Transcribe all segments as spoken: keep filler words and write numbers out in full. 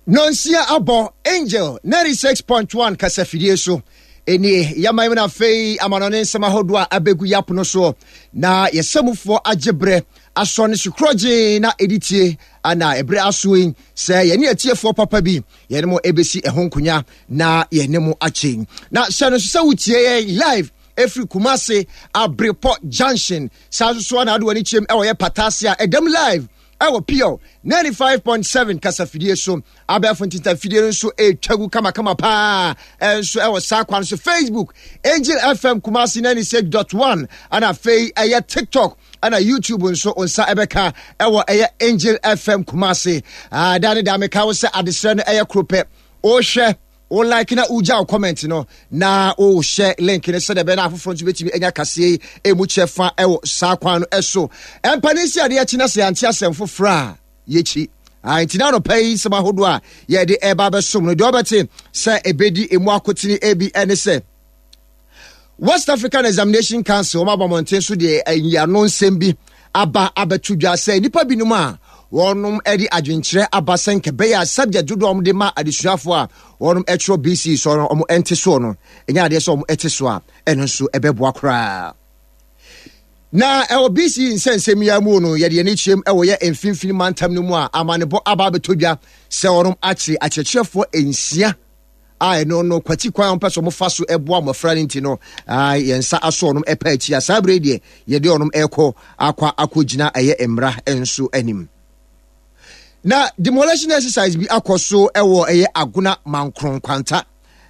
Nonsia abɔ Angel ninety-six point one kasafidie so. Ɛnie yɛman mu no, afei amanɔne nsɛm ahodoɔ a abɛgu yɛ apono soɔ na yɛsɛmufoɔ agye berɛ asɔ ne sokorɔ gyee na ɛdi tie ana ɛberɛ aso yi sɛ yɛne atiefoɔ papa bi yɛne mo ɛbɛsi ɛho nkonya na yɛne mo akye. Na hyɛ no so sɛ wotie yɛn live ɛfiri Kumase Abrepɔ Junction. Saa nso so ana ade w'ani kyerɛm ɛwɔ yɛ Patase a ɛdam live ɛwɔ Pure ninety-five point seven kasafidie so. Abɛɛfo ntentafidie no nso ɛretwa gu kamakama paa. Ɛnso ɛwɔ saa kwan so, Facebook Angel F M Kumasi ninety-six point one, ɛna afei ɛyɛ TikTok ɛna YouTube nso nsa ɛbɛka ɛwɔ ɛyɛ Angel F M Kumasi. Da ne da meka wo sɛ adesrɛ no ɛyɛ koro pɛ: wohwɛ, wo like na wogya wo comment no na wohyɛ link no sɛdeɛ ɛbɛyɛ na afoforɔ nso bɛtumi anya kaseɛ yi ɛmu kyɛ fa ɛwɔ saa kwan no ɛso. Ɛmpa si adeɛ akyi na sɛ yɛante asɛm foforɔ a yɛkyi. Nti na anɔpa yi nsɛm ahodoɔ a yɛde ɛba bɛsom no deɛ, ɔbɛte sɛ ɛbɛdi emu akotene ebi ɛne sɛ West African Examination Council wɔn abɔ mmɔnten so deɛ nyiano nsɛm bi aba abɛto dwa sɛ nnipa binom a wɔnom de adwenkyerɛ aba sɛ nkɛbɛyɛ a subject dodoɔ a wɔde ma adesuafoɔ a wɔnom twerɛ B C E so no wɔn nte soɔ no, ɛnyɛ adeɛ sɛ wɔn te so a ɛno nso ɛbɛboa koraa. Na ɛwɔ B C E nsɛnsɛm yi mu no, yɛde yɛn kyerɛm ɛwɔ yɛ Mfimfini Mantam no mu a amanebɔ aba abɛtɔ dwa sɛ wɔnom akyere akyerɛkyerɛfoɔ nsia a ɛno no kwati kwan a wɔpɛ sɛ wɔfa so boa mmɔfra no nti no yɛn nsa aso ɔnom ɛpa akyi a saa bere deɛ yɛde ɔnom ɛkɔ akɔ akɔgyina ɛyɛ mmara nso anim. Na demolition exercise bi akɔ so ɛwɔ ɛyɛ Agona Mankron Kwanta.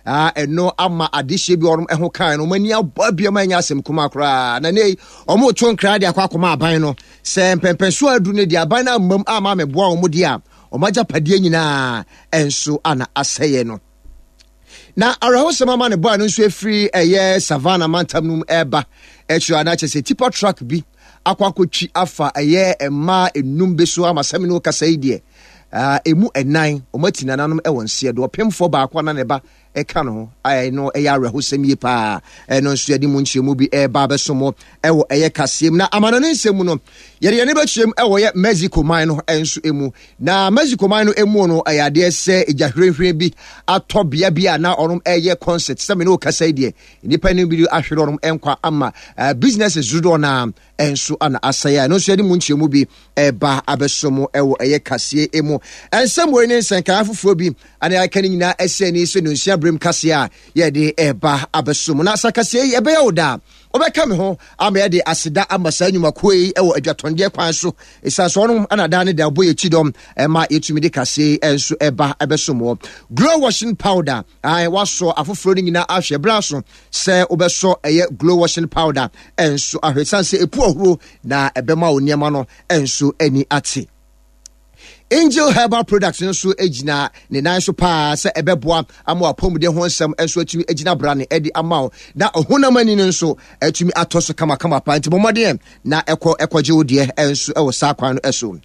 Ɛno ama adehyɛ bi ɔnom ɛho kan no wɔn ani abɔ abiam a ɛnyɛ asɛm kuma koraa. Na ne wɔn to nkra de akɔ akɔma aban no sɛ mpɛmpɛnso adu no deɛ, aban no amam ama amɛboa wɔn deɛ a, wɔn agyapadeɛ nyinaa ɛnso ana asɛeɛ no. Na awerɛhosɛm ama ne bɔa no nso efiri ɛyɛ Savannah mantam no mu ɛreba akyire a na kyerɛ sɛ tipper truck bi akɔ akɔtwi afa ɛyɛ mmaa enum bi so ama sɛm no kasa yi deɛ, emu ɛnan wɔn ati nananom ɛwɔ nseɛ do, ɔpemfoɔ baako ana ne ba ɛka no ho. Ɛno ɛyɛ awerɛhosɛm yie paa. Ɛno nso yɛde mu nkyerɛmu bi ɛreba abɛso ɛwɔ ɛyɛ kaseɛ mu. Na amanɔne nsɛm mu no, yɛde yɛne bɛkyerɛm ɛwɔ yɛ Mexico man no nso mu. Na Mexico man no mu no, ɛyɛ adeɛ sɛ egya hwirenhwiren bi atɔ bea bi a na ɔnom ɛyɛ concert. Sɛ me ne okasa yi deɛ, nnipa no bi ahwere ɔnom nkwa ama businesses dodoɔ naa nso ana asɛe a ɛno nso yɛde mu nkyerɛmu bi ɛba abɛso mu ɛwɔ ɛyɛ kaseɛ mu. Ɛnsɛm wei ne nsɛnkaa foforɔ bi ane aka no nyinaa ɛsɛ ani sɛ nonsia berɛm kaseɛ a yɛde ɛba abɛso mu. Na sa kaseɛ yi ɛbɛyɛ wo daa wobɛka me ho ama yɛde aseda ama saa nnwumakuo yi ɛwɔ adwatɔndeɛ kwan so, ɛsiane sɛ ɔnom ana daa ne da ɔbɔ yɛkyi dɔm ɛma yɛtumi de kaseɛ nso ɛba ɛbɛso mu. Glow washing powder ae wasɔ afoforɔ no nyinaa ahwɛ berɛ so sɛ wobɛsɔ ɛyɛ Glow washing powder ɛnso ahwɛ, ɛsiane sɛ ɛpu ɔhoro na ɛbɛma wo nneɛma no ɛnso ani ate. Angel Herbal Products nso gyina ne nan so paa sɛ ɛbɛboa ama wapɔmuden ho nsɛm nso atumi agyina brane de ama wo na ɔhonam ani no nso atumi atɔ so kamakama paa. Nti bɔmmɔden na ɛkɔ ɛkɔgye wo deɛ nso ɛwɔ saa kwan no so.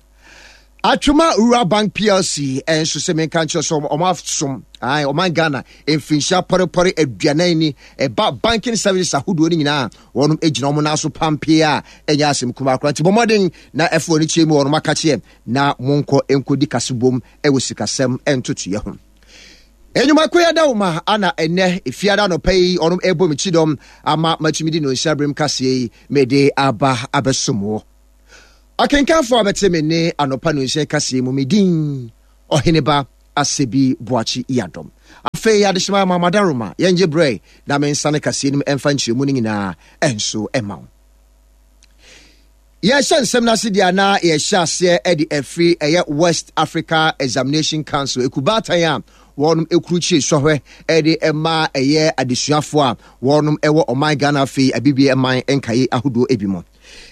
Atwoma Rural Bank P L C nso sɛ menka nkyerɛ sɛ ɔmo asom ɔman Ghana mfirinhyia pɔrepɔre aduanan ni. Ɛba banking services ahodoɔ no nyinaa, wɔnom gyina wɔn nan so pampee a ɛnyɛ asɛm kumaa koraa. Nti bɔ mmɔden na ɛfo ani kyerɛ mu wɔnom aka kyeɛ na monkɔ nkɔdi kasebom ɛwɔ sikasɛm ntotoeɛ ho. Enyimako yɛ da ma ana ɛnɛ efiada anɔpa yi ɔnom ɛbɔ me kyidɔm ama matumi de nonsia berem kaseɛ yi mede aba abɛsom wɔ ɔkenkanfoɔ a bɛte me ne anɔpa nonsia kaseɛ mu. Me din Ɔheneba Asɛbi Boakye Yadɔm. Afei adehyema ma madaroma yɛngye berɛ na mensane kaseɛ no mu ɛmfa nkyerɛmu no nyinaa ɛnso ɛma wo. Yɛhyɛ nsɛm no ase deɛ, na yɛhyɛ aseɛ de afiri ɛyɛ West Africa Examination Council ekubaatan a wɔnom ekurukyire sɔhwɛ de ɛma ɛyɛ adesuafoɔ a wɔnom ɛwɔ ɔman Ghana, afei Abibie man nkae ahodoɔ ebi mu.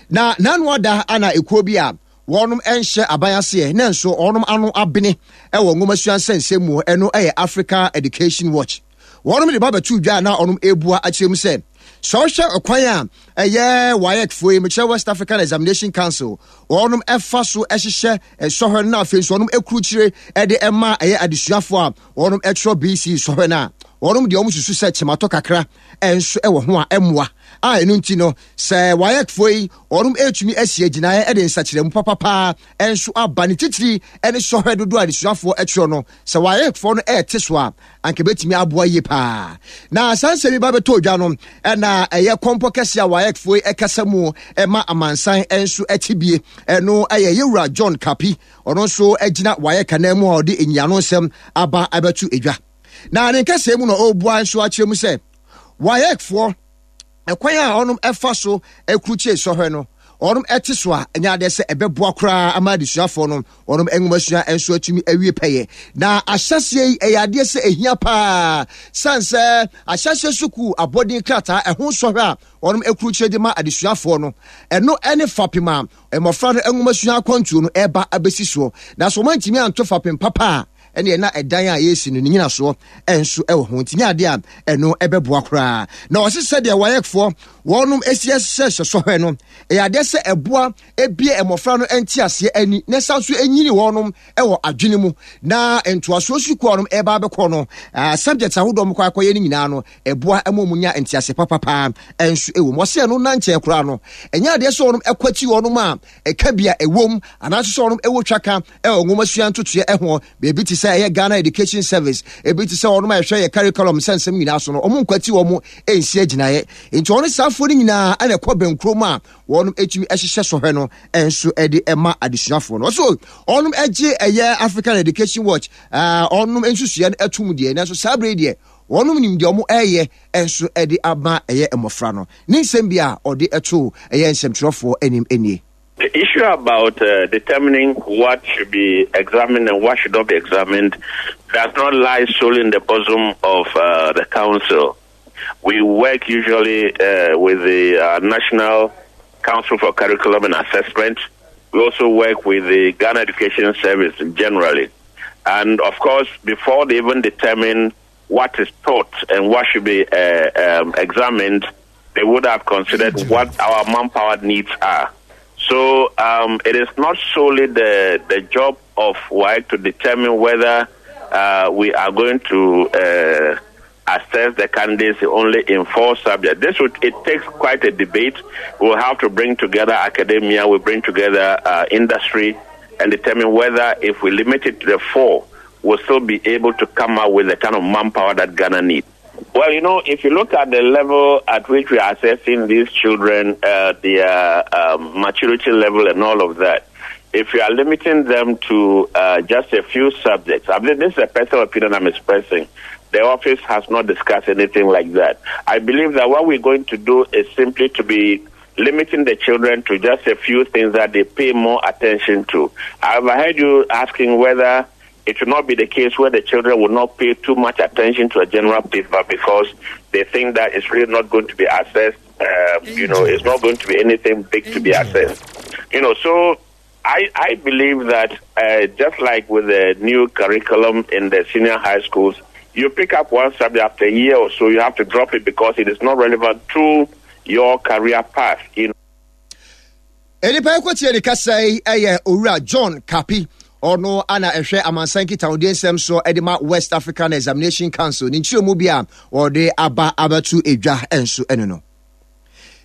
Na n'ano ada ana ekuo bi a wɔnom nhyɛ aban aseɛ na nso wɔnom ano abene ɛwɔ nwomasua nsɛnsɛm mu, ɛno ɛyɛ Africa Education Watch, wɔnom de ba bɛto dwa na wɔnom ebua akyerɛ mu sɛ sɛ ɔhwɛ ɔkwan a ɛyɛ WAEC foɔ yi, mekyerɛ West African Examination Council, wɔnom ɛfa so ɛhyehyɛ sɔhwɛ no na afei nso wɔnom ekurukyire ɛde ɛma ɛyɛ adesuafoɔ a wɔnom ɛtwerɛ B C E sɔhwɛ no a, Wɔnom deɛ, wɔn susu sɛ kyematɔ kakra nso wɔ ho a ɛmmoa a ɛno nti no sɛ WAECfoɔ yi wɔnom ɛretumi asi agyinaeɛ de nsakyerɛmu papapaa nso aba, ne titiri ne sɔhwɛ dodoɔ a adesuafoɔ twerɛ no, sɛ WAECfoɔ no ɛrete so a, anka bɛtumi aboa yie paa. Na saa nsɛm yi ba bɛtɔ odwa no, ɛna ɛyɛ kɔmpɔ kɛseɛ a WAECfoɔ yi ɛkasa mu ɛma amansan nso ɛte bie. Ɛno ɛyɛ Yɛwura John Kapi, ɔno nso gyina WAEC anan mu a ɔde nyiano nsɛm aba abɛto edwa. Na ne nkɛseɛ mu na ɔrebua nso akyerɛ mu sɛ WAECfoɔ ɛkwan a ɔnom ɛfa so ɛkurukyie sɔhwɛ no, ɔnom ɛte so a, ɛnyɛ adeɛ sɛ ɛbɛboa koraa ama adesuafoɔ no ɔnom nwomasua nso atumi awie pɛyɛ. Na ahyɛseɛ yi ɛyɛ adeɛ sɛ ɛhia paa, san sɛ ahyɛseɛ sukuu abɔden krataa ɛho sɔhwɛ a ɔnom ɛkurukyie de ma adesuafoɔ no, ɛno ɛne fapem a mmɔfra no nwomasua akwantuo no ɛba abɛsi soɔ. Na sɛ wɔn antumi anto fapem papa a, ɛne ɛna ɛdan a yɛresi no ne nyinasoɔ nso ɛwɔ ho, nti nyɛ adeɛ a ɛno ɛbɛboa koraa. Na ɔse sɛdeɛ WAECfoɔ wɔnom esi ɛhyehyɛ sɔhwɛ no, ɛyɛ adeɛ sɛ ɛboa ebie mmɔfra no nteaseɛ ani na ɛsan so enyini wɔnom ɛwɔ adwene mu, na ntoasoɔ sukuu a wɔnom ɛba abɛkɔ no, subjects ahodoɔ wɔn kɔ akɔyɛ no nyinaa no, ɛboa ɛma wɔn nya nteaseɛ papapaa ɛnso ɛwɔ mu. Ɔsɛ ɛno nankyɛn koraa no, ɛnyɛ adeɛ sɛ wɔnom ɛkɔ akyi wɔnom a ɛka bi a ɛwɔ mu anaasɛ sɛ wɔnom ɛwɔ twaka ɛwɔ nwomasua ntotoeɛ ɛho beebi te sɛ ɛyɛ Ghana Education Service, ebi te sɛ wɔnom a ɛhwɛ yɛ curriculum sɛ nsɛm nyinaa so no, wɔn nkwati wɔn nsi agyinaeɛ. Nti wɔn saafoɔ no nyinaa ɛna ɛkɔ bɛnkurom a wɔnom etumi ɛhyehyɛ sɔhwɛ no ɛnso ɛde ɛma adesuafoɔ no. Ɔso wɔnom ɛgye ɛyɛ African Education Watch ɛɛ wɔnom nsusua no ɛtum deɛ, nanso saa bere deɛ wɔnom nim deɛ wɔn ɛyɛ ɛnso ɛde ama ɛyɛ mmɔfra no. Ne nsɛm bi a ɔde ɛto ɛyɛ nsɛmtwerɛfoɔ anim nie. The issue about uh, determining what should be examined and what should not be examined does not lie solely in the bosom of uh, the council. We work usually uh, with the uh, National Council for Curriculum and Assessment. We also work with the Ghana Education Service generally. And of course, before they even determine what is taught and what should be uh, um, examined, they would have considered what our manpower needs are. So um, it is not solely the, the job of WAEC to determine whether uh, we are going to uh, assess the candidates only in four subjects. This would, it takes quite a debate. We'll have to bring together academia, we bring together uh, industry, and determine whether if we limit it to the four, we'll still be able to come up with the kind of manpower that Ghana needs. Well, you know, if you look at the level at which we are assessing these children, uh, their um, maturity level and all of that, if you are limiting them to uh, just a few subjects, I mean, this is a personal opinion I'm expressing. The office has not discussed anything like that. I believe that what we're going to do is simply to be limiting the children to just a few things that they pay more attention to. I've heard you asking whether it should not be the case where the children will not pay too much attention to a general paper because they think that it's really not going to be assessed. Uh, you know, it's not going to be anything big to be assessed. You know, so I, I believe that uh, just like with the new curriculum in the senior high schools, you pick up one subject, after a year or so, you have to drop it because it is not relevant to your career path. You know. Nipa ɛkɔtie ne kasa yi ɛyɛ Owura John Kapi, ɔno ana ɛhwɛ amansan nkitahodie nsɛm so ɛde ma West African Examination Council. Ne nkyerɛmu bi a wɔde aba abɛto edwa nso ɛno no.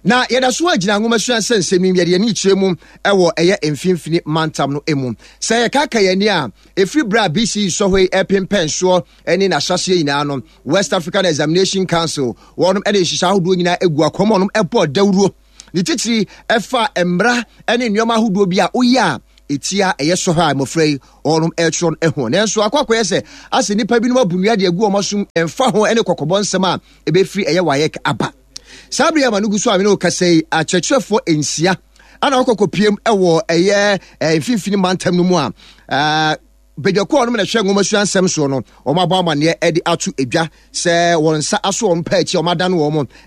Na yɛda so agyina nwomasua nsɛnsɛm yi, yɛde yɛn kyerɛ mu ɛwɔ ɛyɛ Mfimfini Mantam no mu. Sɛ yɛkaka yɛn ani a, ɛfiri berɛ a B C E sɔhɔ yi ɛpempɛn soɔ ne n'ahyɛseɛ nyinaa no, West African Examination Council wɔnom ɛde nhyehyɛ ahodoɔ nyinaa egu akɔm, wɔnom ɛbɔ dawuro, ne titiri ɛfa mmara ne nneɛma ahodoɔ bi a woyɛ a ɛtia ɛyɛ sɔhɔ a mmɔfra yi wɔnom ɛretwerɛ no ho. Nanso akɔ akɔyɛ sɛ asɛ nnipa binom abu nnua de agu wɔn asom, ɛmfa ho ne kɔkɔbɔ nsɛm a ɛbɛfiri ɛyɛ WAEC aba. Saa bere ama no gu so a mene wo kasa yi, akyerɛkyerɛfoɔ nsia ana wɔkɔkɔpiem ɛwɔ ɛyɛ Mfimfini Mantam no mu a badwakuo a wɔnom na ɛhwɛ nwomasua nsɛm soɔ no, wɔn abɔ amanneɛ de ato edwa sɛ wɔn nsa aso wɔn pɛ akyi a wɔn adane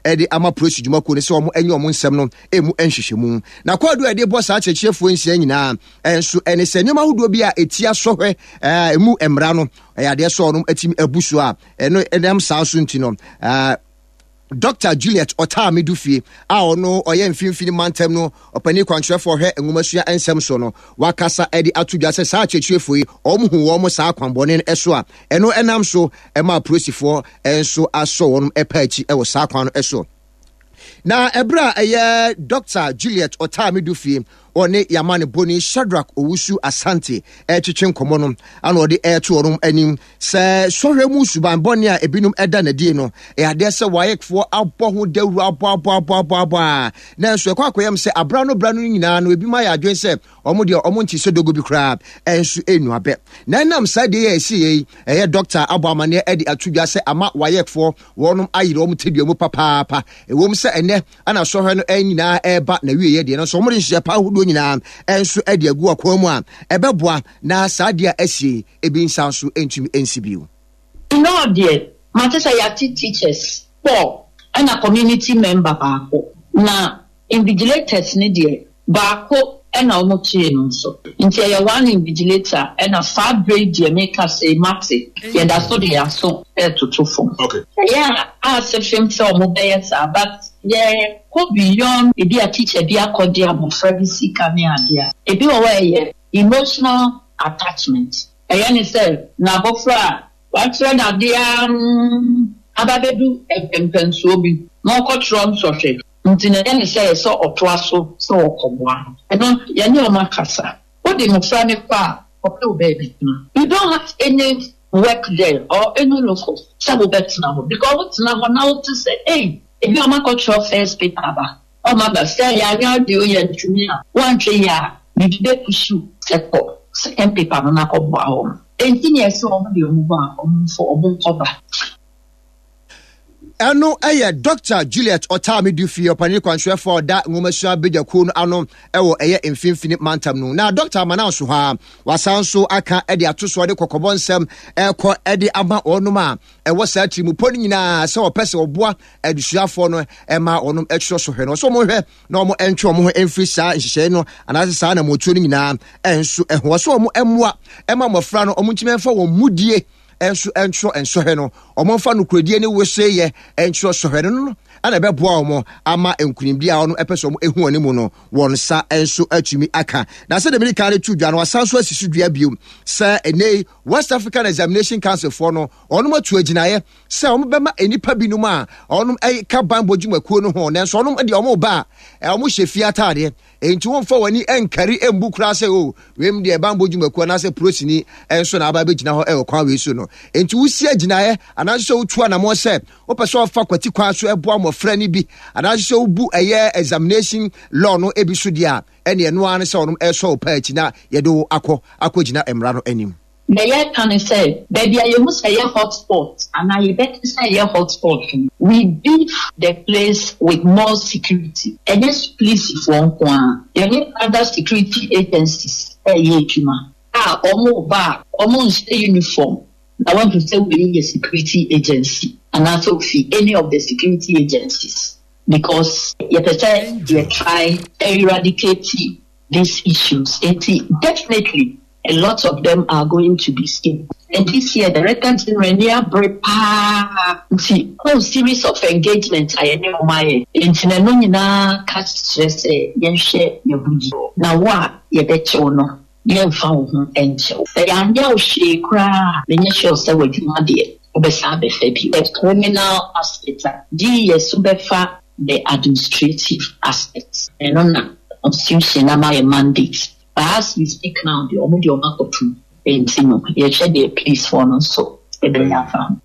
wɔn de ama polisi dwumakuo no sɛ wɔn nye wɔn nsɛm no emu nhwehwɛmu. Na kwaadu a yɛde bɔ saa akyerɛkyerɛfoɔ nsia nyinaa nso ɛne sɛ nneɛma ahodoɔ bi a ɛtia sɔhwɛ ɛɛ emu mmara no, ɛyɛ adeɛ sɛ wɔn atumi abu so a ɛno ɛnam saa so nti no ɛɛ Dɔkta Juliet Otaa Medufie a ɔno ɔyɛ Mfimfini Mantam no ɔpanin kwankyerɛfoɔ ɔhwɛ nwomasua nsɛm so no, wakasa de ato dwa sɛ saa akyerɛkyerɛfoɔ yi wɔn hu wɔn saa akwanbɔne no so a ɛno ɛnam so ma apolisifoɔ nso asɔ wɔn pa akyi wɔ saa kwan no so. Na ɛberɛ a ɛyɛ Dɔkta Juliet Otaa Medufie ɔne Yamanebɔni Shadrack Owusu Asante retwetwe nkɔmmɔ no, ana ɔde reto wɔn anim sɛ sɔhwɛ mu suban bɔne a ebinom da no adie no, ɛyɛ adeɛ sɛ WAECfoɔ abɔ ho dawuro abɔ abɔ abɔ abɔ abɔ a, nanso ɛkɔ akɔyam sɛ abra no bra no nyinaa no ebinom ayɛ adwene sɛ wɔn deɛ wɔn nte sɛ dogo bi koraa ɛnso ɛnnu abɛ. Na ɛnam saa deɛ yɛ ɛsi yɛ yi, ɛyɛ dɔkta abɔ amaneɛ de ato dwa sɛ ama WAECfoɔ wɔnom ayere wɔn tadua mu papaapa. Ɛwom sɛ ɛnɛ ana sɔhwɛ no nyinaa ɛreba na wieɛ deɛ, nanso wɔn de nhyehyɛ pa ahodoɔ nyinaa nso de agu akwan mu a ɛbɛboa na saa deɛ a asie ebi nsa nso ntumi nsi bio. Nnɔɔ deɛ, mate sɛ yɛate teachers four ɛna community member baako, na invigilators no deɛ, baako ɛna wɔn kyee no nso. Nti ɛyɛ one invigilator ɛna saa berɛ yi deɛ meka sɛ mate, yɛda so de yɛaso ɛretoto fam. Okay. Ɛyɛ a ase fem sɛ wɔn bɛyɛ saa, but yɛkɔ beyond ebi a teacher bi akɔgye abɔfra bi sika ne adeɛ a, ebi wɔ hɔ a ɛyɛ emotional attachment. Ɛyɛ ne sɛ n'abɔfra a wakyerɛ n'adeɛ aba bɛdu mpɛmpɛnsoɔ bi na ɔkɔtwerɛ nsɔhwɛ nti na ɛyɛ ne sɛ ɛsɛ ɔtoa so sɛ ɔkɔboa no. Ɛno yɛne ɔmo akasa. Wode mmɔfra no kɔ a, ɔpɛ wo baabi tena. You don't have any work there or any local sɛ wobɛtena hɔ, because wotena hɔ na wote sɛ ei, ebi ɔmo akɔtwerɛ first paper aba, ɔmo aba sɛ yɛanyɛ adeɛ o, yɛntumi a woantwɛ yi a biribi bɛpusu sɛ kɔ second paper no na kɔboa wɔn. Enti ne ɛsɛ ɔmo de ɔmo bɔ a ɔmo mfo ɔmo nkɔba. Ɛno yɛ Dɔkta Juliet Otaa Medufie, ɔpanin kwankyerɛfoɔ a ɔda nwomasua badwakuo no ano wɔ ɛyɛ Mfimfini Mantam no. Na Dɔkta Amana nso hɔ a, wasan nso aka de ato soɔ de kɔkɔbɔ nsɛm ɛkɔ de ama wɔnom a ɛwɔ saa tirimupɔ no nyinaa sɛ wɔpɛ sɛ wɔboa adesuafoɔ no ɛma wɔnom ɛtwerɛ sɔhwɛ no. Ɔsɛ wɔn hwɛ na wɔn ɛntwe wɔn ho mfiri saa nhyehyɛe no anaasɛ saa anammɔtuo no nyinaa ɛnso ɛho. Ɔsɛ wɔn mmoa ɛma mmɔfra no wɔn ntumi ɛmfa wɔn mudie nso ntwerɛ nsɔhwɛ no, wɔn mfa nokorɛdie ne weseyɛ ntwerɛ sɔhwɛ no no ɛna ɛbɛboa wɔn ama nkunimdie a wɔn ɛpɛ sɛ wɔn ehu wɔn mu no wɔn nsa nso atumi aka. Na sɛ dɛm kan no to dwa no, wasan so asi so dua bio sɛ ɛnɛ West African Examination Council foɔ no wɔn atu agyinaeɛ sɛ wɔn bɛma nnipa binom a wɔn ɛka banbɔ dwumakuo no ho, nanso wɔn deɛ wɔn ba a wɔn hyɛ fie ataadeɛ, enti wɔmfa wɔn ani nkari mbu koraa sɛ o wei deɛ banbɔ dwumakuo anaasɛ polisini nso na aba abɛgyina hɔ ɛwɔ kwan wei so no. Enti wosi agyinaeɛ anaasɛ sɛ wotu anammɔn sɛ wopɛ sɛ ɔfa kwati kwan so ɛboa mmɔfra no bi anaasɛ sɛ wobu ɛyɛ examination law no ebi so deɛ a, ɛne ɛno ara ne sɛ ɔnom ɛsɔ wo paa akyi na yɛde wo akɔ akɔgyina mmara no anim. Na yɛka ne sɛ baabi a yɛhu sɛ ɛyɛ hotspot anaa yɛbɛte sɛ ɛyɛ hotspot no, we beef the place with more security. Ɛnyɛ polisifoɔ nko a, yɛne other security agencies ɛyɛ adwuma a ɔmo ba a ɔmo nhyɛ uniform na wɔahu sɛ wei yɛ security agency anaasɛ ofi any of the security agencies, because yɛpɛ sɛ yɛ try eradicate these issues. Nti definitely a lot of them are going to be seen. And this year, Director General ni abere paa nti whole series of engagement a yɛne wɔn ayɛ. Nti na ɛno nyinaa ka kyerɛ sɛ yɛnhwɛ yɛn ho yie. Na wo a yɛbɛkyɛw no, yɛmfa wo ho nkyɛw. Sɛ yɛanyɛ wo hwee koraa, menyɛ sure sɛ w'adwuma deɛ wobɛsan abɛfa bio. The criminal aspect a gye yɛ so bɛfa the administrative aspect. Ɛno na constitution ama yɛ mandate. But as we speak now, deɛ ɔmo deɛ ɔmo akɔtum. Nti no, yɛhwɛ deɛ policefoɔ no nso ɛbɛyɛ afa ho.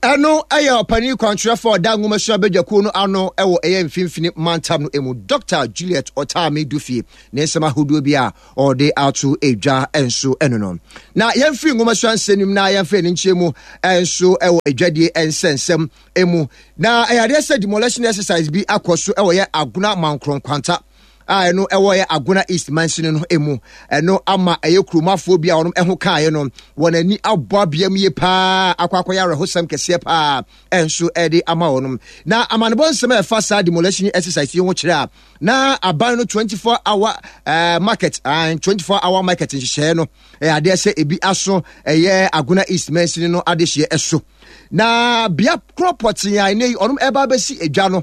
Ɛno ɛyɛ ɔpanin kwankyerɛfoɔ a ɔda nwomasua badwakuo no ano ɛwɔ ɛyɛ Mfimfini Mantam no mu, Dɔkta Juliet Otaame Dufie, ne nsɛm ahodoɔ bi a ɔde ato edwa nso ɛno no. Na yɛmfiri nwomasua nsɛm no mu na yɛmfiri ne nkyɛn mu nso ɛwɔ edwadie nsɛnsɛm mu. Na ɛyɛ adeɛ sɛ demolition exercise bi akɔ so ɛwɔ yɛ Agona Mankorɔ Nkwanta a ɛno ɛwɔ yɛ Agona East mansini no mu. Ɛno ama ɛyɛ kuromafoɔ bi a wɔn ɛho kaeɛ no wɔn ani abɔ abea mu yie paa, akɔ akɔyɛ awerɛhosɛm kɛseɛ paa ɛnso ɛde ama wɔn. Na amanebɔ nsɛm a ɛfa saa demolition exercise yi ho kyerɛ a, na aban no twenty-four hour uh, market, uh, twenty-four hour market nhyehyɛeɛ no ɛyɛ adeɛ sɛ ebi aso ɛyɛ Agona East mansini no adehyeɛ ɛso. Na bea korɔ pɔtee a ɛnɛ yi ɔnom ɛba abɛsi edwa no,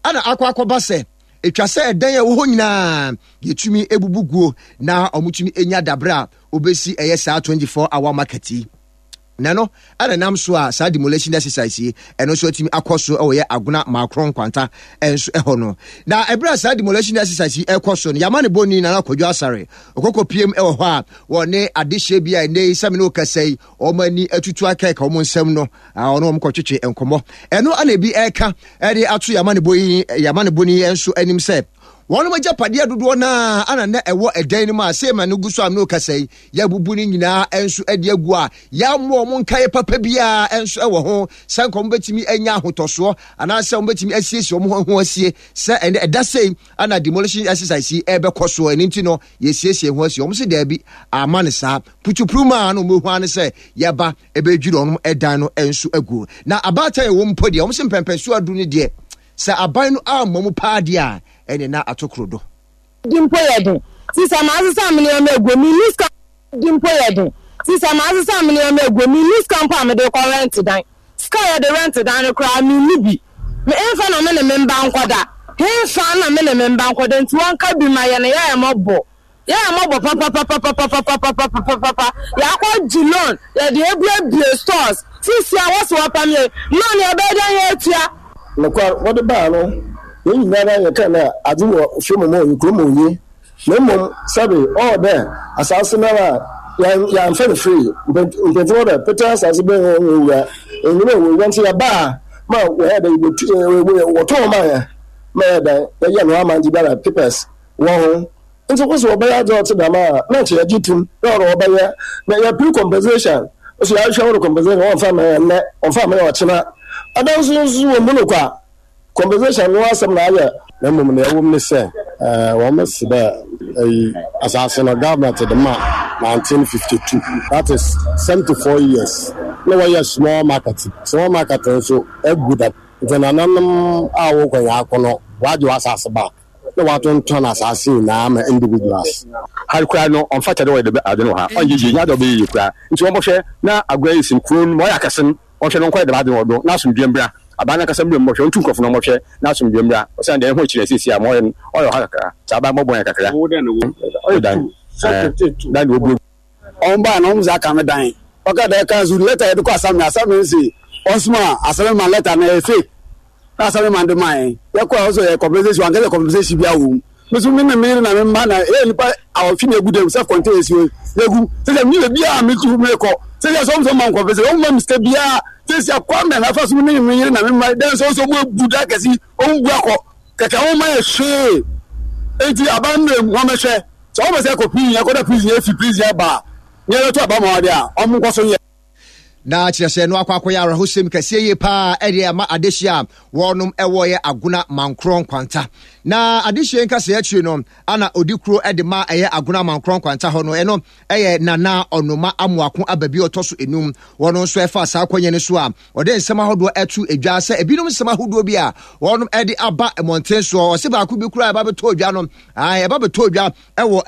ɛna akɔ akɔba sɛ etwa sɛ ɛdan a ɛwɔ hɔ nyinaa yɛtumi ebubu guo na ɔmotumi enya dabrɛ a obesi ɛyɛ saa twenty-four hour market yi. Na no ɛna nam so a saa demolition exercise yi ɛno nso atumi akɔ so ɛwɔ yɛ Agona Maakron Nkwanta ɛnso ɛhɔ no. Na ɛberɛ a saa demolition exercise yi ɛkɔ so no, yɛama ne bɔni Nana Kwadwo Asare ɔkɔkɔ piem ɛwɔ hɔ a wɔne adehyɛ bi a ɛnɛ yi sɛmi ne ɔkasa yi wɔn ani atutu akɛka wɔn nsɛm no, ɔno wɔn kɔtwetwe nkɔmɔ. Ɛno ana ebi ɛka ɛde ato yɛama ne bɔ yi, yɛama ne bɔni nso anim sɛ wɔn agyapadeɛ dodoɔ naa ana na ɛwɔ ɛdan no mu a sɛ no gu so a no kasa yi yɛabubu no nyinaa nso de agu a yɛammɔ wɔn nkaeɛ papa biara nso wɔ ho sɛ nka wɔn bɛtumi anya ahotɔsoɔ anaasɛ wɔn bɛtumi asiesie wɔn ho asie sɛ ɛnɛ ɛda sei ana demolition exercise yi ɛbɛkɔ soɔ, ɛno nti no yɛsiesie ho asie. Wɔn sɛ daabi, ama ne saa putupuru mu a na wɔn ehu ano sɛ yɛba ɛbɛdwiri wɔn ɛdan no nso agu. Na abaatan ɛwɔ mpo deɛ, wɔn sɛ mpɛmpɛnso adu no deɛ, sɛ aban no ammɔ mu paa deɛ a, ɛne na atokoro do. Di mpo yɛ den. Sisa maa sisa mi nneɛma egu mi ni sika. Di mpo yɛ den. Sisa maa sisa mi nneɛma egu mi ni sika mpo a mi de kɔ rent dan. Sika yɛ de rent dan no koraa mi ni bi. Mi nfa na mi ne mi mba nkɔda. Nfa na mi ne mi mba nkɔda, nti wɔn ka bi ma yɛ no yɛ yɛ mɔbɔ. Yɛ yɛ mɔbɔ papapapapapapapapapa. Yɛakɔ gye loan, yɛde ebuebue stores. Sisi a wɔsi wɔpam yɛ loan, yɛ bɛyɛ dɛ yɛ atua. Nokwar, wɔde baa no, yɛn nyinara yɛkaa dɛ adze wɔ fie mu ma oye, kurom oye. Na mbom sɛbe ɔwɔ dɛ asaase noara a yɛammfa no free. Mpanyimfo wɔ dɛ petee asaase bɛn hɔ wɔ owura, enyim dɛ ɔwɔ owura ntsi yɛbaa ma wɔyɛɛ dɛ yebotu wɔtɔn maa hɛn ma yɛyɛ dɛn yɛyɛɛ no amandze biara papers wɔ ho. Ntsi wo se wɔbɛyɛ adze a ɔtse dɛm a, na nkyɛ yɛgye to mu dɛ ɔno wɔbɛyɛ. Na yɛper compensation so, yɛahwehwɛ wo do compensation, wɔmmfa mma hɛn ndɛ, wɔmmfa mma hɛn ɔkyena. Adan so so wɔ mu no kwa, compensation no asɛm na ayɛ. Na mmom nea ɛwɔ mu ne sɛ, wɔn se dɛ ɛyi asase no government de ma nineteen fifty-two, that is seventy-four years, na wɔyɛ small market. Small market nso agu da, nti nananom a wɔkɔ yɛn akɔ no wɔagye wɔ asase back na wɔatontɔn asase nyinaa ma individuals. Ha koraa no, ɔmfata dɛ wɔyɛ dɛ ade no wɔ ha. Ɔnyɛ yie, nyɛ ade a ɔbɛyɛ yie koraa, nti wɔmbɔhwɛ na Agona yi sin kuro no ma ɔyɛ akɛse no, ɔhwɛ no nkɔyɛ dɛm ade no wɔ do na asomdwe mbra. Aban no ankasa mmerɛ mu bɔhwɛ, ɔntu nkurɔfo no ɔmmɔhwɛ na asomdwe mbra, ɔsiane deɛ ɛho akyiri asiesie a ma ɔyɛ no ɔyɛ ɔha kakra sɛ aban bɔbɔ yɛn kakra. Ɔyɛ dan dan de wɔbuo. Ɔmo baa na ɔmo sɛ aka me dan ɔka dɛ council letter yɛde kɔ assembly, assembly nsi ɔsoma assembly man letter na ɛyɛ fake na assembly man de maa yɛn. Yɛkɔ a ɔsɛ yɛ compensation, wankasa compensation bi awɔ mu. Me so me ne me yere na me mma na ɛyɛ nipa awɔtwe na egu dɛm self contained esi hɔ yɛgu sɛ sɛ mi yɛ biara mi tu mi kɔ sɛ sɛ sɛ ɔmo sɛ ɔmo ma compensation, ɔmo ma mi sika biara sɛ sɛ akwame na afa so me ne me yere na me mma dɛn sɛ ɔsɛ ɔmo ebu da kɛse, ɔmo bu akɔ kɛkɛ, ɔmo ma yɛ hwee. Eti aban mmerɛ mu wɔn bɛhwɛ sɛ ɔmo sɛ ɛkɔ prison, ɛkɔ da prison, efi prison ɛba a nyɛ bɛto aba ma ɔde a ɔmo nkɔ so yɛ. Na kyerɛ sɛ no akɔ akɔyɛ awerɛhosɛm kɛseɛ yie paa ɛde ama adehyeɛ a wɔnom ɛwɔ yɛ Agona Mankorɔ Nkwanta. Na adehyeɛ nkasɛɛ akyire no ana ɔdi kuro ɛde ma ɛyɛ Agona Mankorɔ Nkwanta hɔ no, ɛno ɛyɛ Nana Ɔnoma Amoako aba bi ɔtɔ so enum. Wɔn nso ɛfa saa akɔnyɛ no so a ɔde nsɛm ahodoɔ ɛto edwa sɛ ebinom nsɛm ahodoɔ bi a wɔnom ɛde aba mmɔnten soɔ, ɔse baako bi koraa ɛba bɛtɔ odwa no, ɛba bɛtɔ odwa ɛwɔ